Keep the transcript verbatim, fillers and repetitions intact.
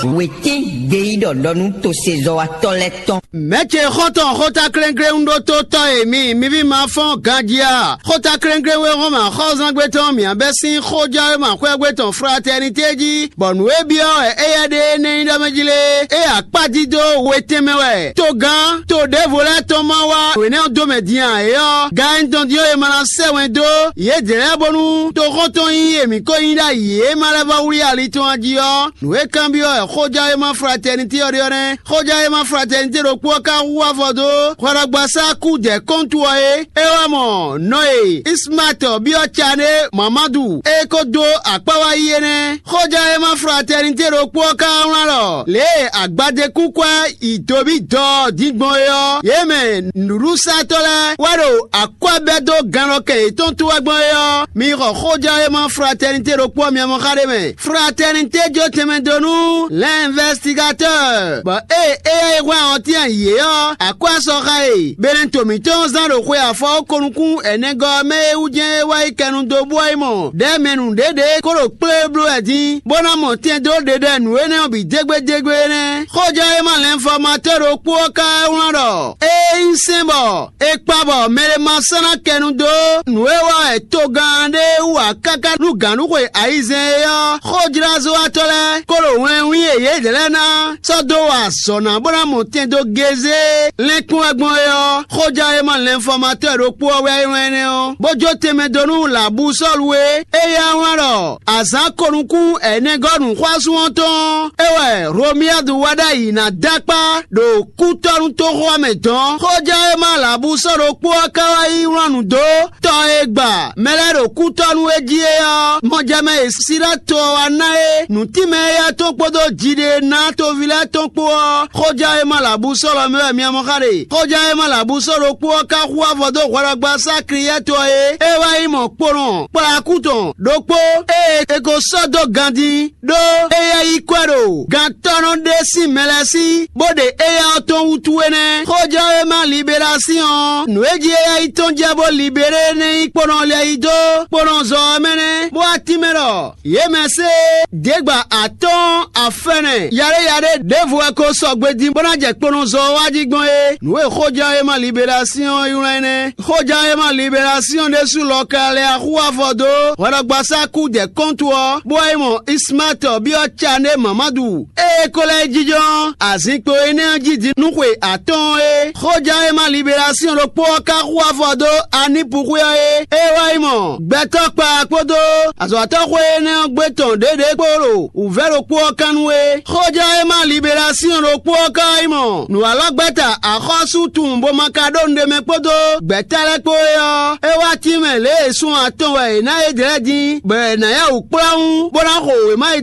Wětín gbeyíɖɔ ɖɔ nú tosezɔ́watɔ́ lɛ́ɛ tɔn. Mɛ̌ ce xɔ́ntɔn xóta klɛ́nklɛ́n ɖótótɔ́ e mi mi ví ma fɔ́n ganjí a? Xóta klɛ́nklɛ́n wé hɔn mɛ axɔ́zángbé tɔn mǐ bɛ́ sín xójɛ́wéma xwɛ́gbé tɔn Fratɛnité jí, bɔ nǔ e byɔ́ wɛ éyɛ́ ɖe énɛ́ nyí ɖɔ mɛ jí lé, é akpá dídó we tɛnmɛ wɛ. Togán to ɖěvo lɛ́ɛ tɔn ma wá wěnɛ́ ɔ́ dó mɛ din ǎ é ɔ́, gan e tɔn din ɔ́, è ma ná sɛ́ wɛn dó yědɛɛ lɛ́ɛ bónú toxɔ́ntɔn nyí e mǐ ko nyí ɖ'ayǐ e ma lɛ́ vɔ́ wlí ali tɔn ɔ́ jí ɔ́, nǔ e kanbyɔ́ wɛ xójɛ́wéma Fratɛnité ɔ́ ɖe ɔ́ nɛ́. Xójɛ́wéma Fratɛnité ɖokpó ɔ́ ka hu afɔ dó hwɛɖɔgbasá kú jɛ kɔ́ntu ɔ́ é. É wá mɔ nɔ e Ismaatɔ byɔ́ Cané Mamadu é ko dó akpá wá yí é nɛ́. Xójɛ́wéma Fratɛnité ɖokpó ɔ́ ka wlán ɖɔ lě e agbadékúnkwɛ́ yi dobí dɔ ɔ́ din gbɔn é ɔ́, yě mɛ nǔɖuɖusatɔ́ lɛ́ɛ wɛ ɖo akwɛ́ bɛ́ dó gannɔkɛ yětɔn tó wɛ gbɔn é ɔ́, mi xɔ xójɛ́wéma Fratɛnité ɖokpó ɔ́ mi mɔ xá ɖé mɛ. Fratɛnité jó tɛnmɛ dó nú l'investigatɔ́, bɔ ée éyɛ́ e hwlɛ́n ɔ́ tɛ́n yě ɔ́, akwɛ́ sɔxa e Benɛto mǐtɔn zán ɖo xwe afɔwókonukún ɛnɛgɔ́ ɔ́ mɛ é wú jɛ́n é wá yi kɛnu dó bú ɔ́ yi mɔ ɖɛ̌ mɛ nǔɖéɖé kó ɖo kplé bló wɛ dín, bó ná mɔ tɛn dó ɖeɖɛ nǔ énɛ́ ɔ́ bǐ dégbédégbé é nɛ́. Xójɛ́wéma lɛnfɔmatɔ́ ɖokpó ɔ́ ka wá wlán ɖɔ: Ée nyí sɛ́n bɔ è kpa bɔ mɛɖé ma sɔ́ ná kɛ nu dó nǔ e wa wɛ togán ɖé wú ǎ káká nú gǎnɖuxwe ayizɛ́n é ɔ́, xójlázɔ́watɔ́ lɛ́ɛ kó ɖo wlɛnwín e yědɛɛ lɛ́ɛ ná sɔ́ dó wa azɔ̌ ná bó ná mɔ tɛn dó gézé lɛ́nkún wɛ gbɔn é ɔ́, xójɛ́wéma lɛnfɔmatɔ́ ɖokpó ɔ́ wɛ é wlán énɛ́ ɔ́, bó jó tɛnmɛ dó nú Labusɔ́lu é. Éyɛ́ wlán ɖɔ: Azǎn ko nukún ɛnɛgɔ́ nǔxwásún ɔ́ tɔn ɔ́, é wɛ Hlomiyadu wá ɖ'ayǐ ná dó akpá ɖo kútɔ́nútoxo ɔ́ mɛ dɔn. Xójɛ́wéma Labusɔ́ ɖokpó ɔ́ ka wá yi wlán nǔ dó tɔ e gba mɛ lɛ́ɛ ɖo kútɔ́ nú é jí é ɔ́, mɔjɛmɛ e Siláto ɔ́ wá ná é nǔtínmɛ éyɛ́ tɔn kpódó jiɖe e ná toví lɛ́ɛ tɔn kpó ɔ́, xójɛ́wéma Labusɔ́ lɔ mɛ wɛ mi mɔ xá ɖe. Xójɛ́wéma Labusɔ́ ɖokpó ɔ́ ka hu avɔ dó hwɛɖɔgbasá Kliyɛ́tɔ e é wá yi mɔ kponɔ kplakú tɔn ɖokpó e è ko sɔ́ dó ganjí, ɖó éyɛ́ yí kwɛ́ ɖo gantɔ́nɔ ɖé sín mɛ lɛ́ɛ sí, bó ɖe éyɛ́ ɔ́ tɔn wútu é nɛ́. Xójɛ́wéma Liberasíɔn ɔ́, nǔ e jí éyɛ́ yi tɔn jɛ bó libéré nɛ́ nyí kponɔ lɛ yi dó kponɔzɔ ɔ́ mɛ nɛ́, bó wá tínmɛ ɖɔ yě mɛ sé děgba atɔ́ɔ́n afɛnɛ yaɖéyaɖé ɖěvo wɛ ko sɔgbe din bó ná jɛ kponɔzɔ ɔ́ wá jí gbɔn é. Nǔ e xójɛ́wéma Liberasíɔn ɔ́ ylɔ́ é nɛ́. Xójɛ́wéma Liberasíɔn ɖésú lɔ ka lɛ́ axú afɔ dó hwɛɖɔgbasá kú jɛ kɔ́ntu ɔ́, bó wá yi mɔ Ismaatɔ byɔ́ Cané Mamadu. Ée é ko lɛ́ yi jínjɔ́n azinkpo énɛ́ ɔ́ jí din nú xwe atɔ́ɔ́n é, xójɛ́wéma Liberasíɔn ɖokpó ɔ́ ka hu afɔ dó Anipu xwé ɔ́ é. É wá yi mɔ gbɛtɔ́ kpa kpódó azɔ̌watɔ́ xwé énɛ́ ɔ́ gbé tɔn ɖěɖě kpó ɖo wǔvɛ́ ɖokpó ɔ́ kan nu é. Xójɛ́wéma Liberasíɔn ɖokpó ɔ́ ka wá yi mɔ nǔwalɔ́gbɛ́ta axɔ́sú tunwun bó ma ka ɖó nǔɖé mɛ kpódó gbɛ̌ta lɛ́ɛ kpó é ɔ́, é wá tínmɛ lě e sun atɔn wɛ è ná é ɖě lɛ́ɛ dín, bɔ è nǎ yá wǔ kplɔ́n bó ná xo wěma e